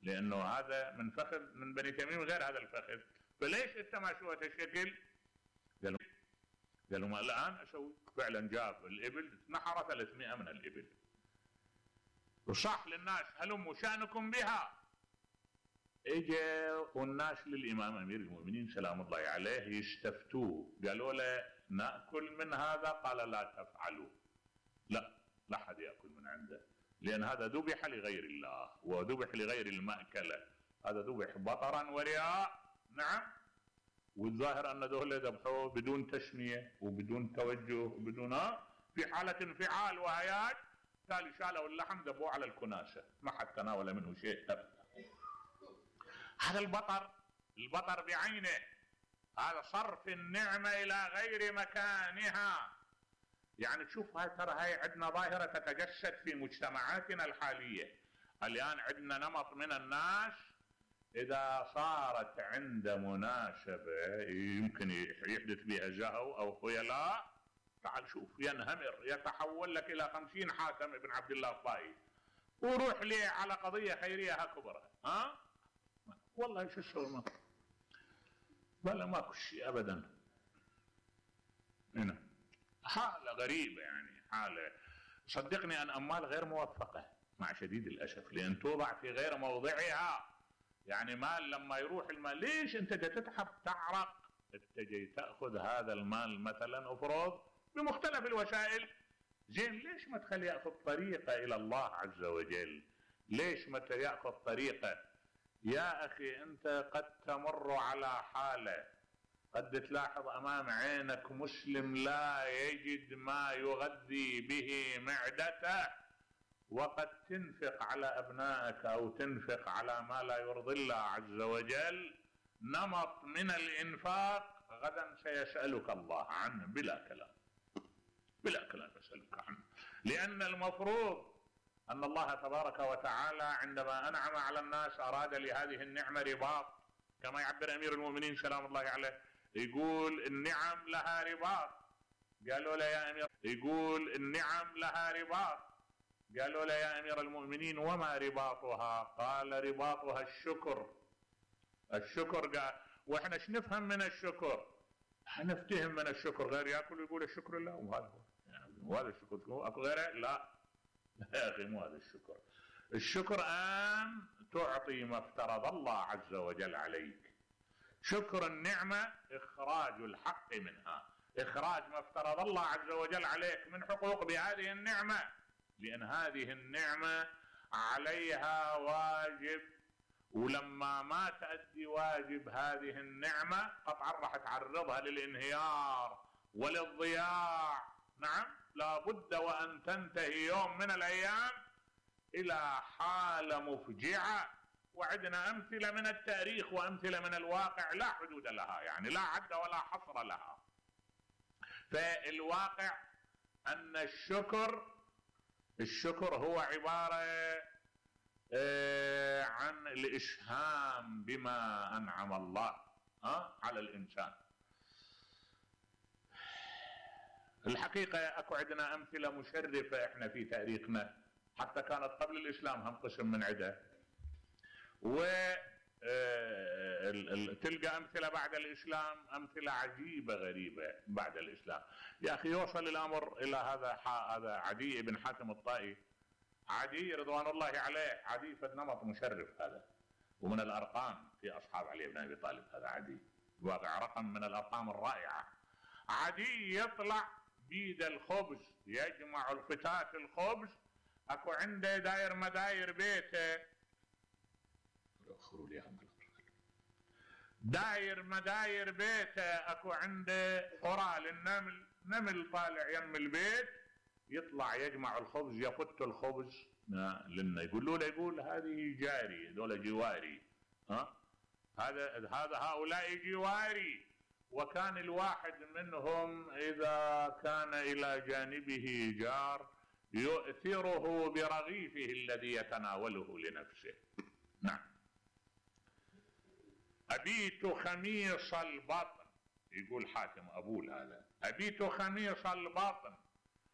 لانه هذا من فخذ من بني تميم غير هذا الفخذ، فليش انت ما شوت الشكل؟ قالوا ما الان اسوي. فعلا جاب الابل نحر 300 من الابل وصح للناس هلموا شانكم بها. اجا والناس للامام امير المؤمنين سلام الله عليه يستفتوه، قالوا له ناكل من هذا؟ قال لا تفعلوا، لا حد ياكل من عنده، لان هذا ذبح لغير الله وذبح لغير المأكله، هذا ذبح بطرا ورياء. نعم، والظاهر ان ذولا ذبحوه بدون تسميه وبدون توجه وبدون في حاله انفعال وهياج، تالي شالوا اللحم ذبوه على الكناسه، ما حد تناول منه شيء ابدا. هذا البطر بعينه، هذا صرف النعمه الى غير مكانها. يعني تشوف هاي عندنا ظاهره تتجسد في مجتمعاتنا الحاليه الان. عندنا نمط من الناس اذا صارت عند مناسبه يمكن يحدث بها زهو او خيلاء، تعال شوف ينهمر، يتحول لك الى 50 حاتم ابن عبد الله الطائي وروح لي على قضيه خيريه كبرى. والله شو اسوي؟ ولا ماكو شيء ابدا. هنا حاله غريبه، يعني حاله صدقني ان اموال غير موفقه مع شديد الاسف، لان توضع في غير موضعها. يعني مال لما يروح المال، ليش انت تتعب تعرق انت جاي تاخذ هذا المال مثلا افرض بمختلف الوسائل، زين ليش ما تخلي ياخذ طريقه الى الله عز وجل؟ ليش ما ياخذ طريقه؟ يا اخي انت قد تمر على حاله، قد تلاحظ امام عينك مسلم لا يجد ما يغذي به معدته، وقد تنفق على ابنائك او تنفق على ما لا يرضي الله عز وجل، نمط من الانفاق غدا سيسألك الله عنه بلا كلام، بلا كلام يسألك عنه. لان المفروض ان الله تبارك وتعالى عندما انعم على الناس اراد لهذه النعمة رباط، كما يعبر امير المؤمنين سلام الله عليه، يقول النعم لها رباط. قالوا له يا امير، يقول النعم لها رباط، قالوا له يا امير المؤمنين وما رباطها؟ قال رباطها الشكر. الشكر قال واحنا ايش نفهم من الشكر؟ نفتهم من الشكر غير ياكل ويقول الشكر لله، وهذا هو يعني وهذا الشكر اكو غيره؟ لا يا اخي مو هذا الشكر. الشكر ان تعطي ما افترض الله عز وجل عليك. شكر النعمه اخراج الحق منها، اخراج ما افترض الله عز وجل عليك من حقوق بهذه النعمه، لان هذه النعمه عليها واجب، ولما ما تؤدي واجب هذه النعمه قطعا راح تعرضها للانهيار وللضياع. نعم، لابد وان تنتهي يوم من الايام الى حاله مفجعه، وعندنا امثله من التاريخ وامثله من الواقع لا حدود لها، يعني لا عد ولا حصر لها. فالواقع ان الشكر هو عباره عن الاسهام بما انعم الله على الانسان. الحقيقه اكو عندنا امثله مشرفه احنا في تاريخنا، حتى كانت قبل الاسلام هم قسم من عده، تلقى امثله بعد الاسلام، امثله عجيبه غريبه بعد الاسلام. يا اخي يوصل الامر الى هذا عدي بن حاتم الطائي، عدي رضوان الله عليه، عدي فد نمط مشرف هذا، ومن الارقام في اصحاب علي بن ابي طالب. هذا عدي واقع رقم من الارقام الرائعه. عدي يطلع بيد الخبز، يجمع الفتات الخبز، اكو عنده داير مداير بيته، داير مداير بيته، اكو عنده قرى للنمل، نمل طالع يم البيت، يطلع يجمع الخبز، يفت الخبز لنا، يقول هذه جاري، هذول جواري، هذا هؤلاء جواري. وكان الواحد منهم اذا كان الى جانبه جار يؤثره برغيفه الذي يتناوله لنفسه. نعم. أبيت خميص البطن، يقول حاتم أبول هذا، أبيت خميص البطن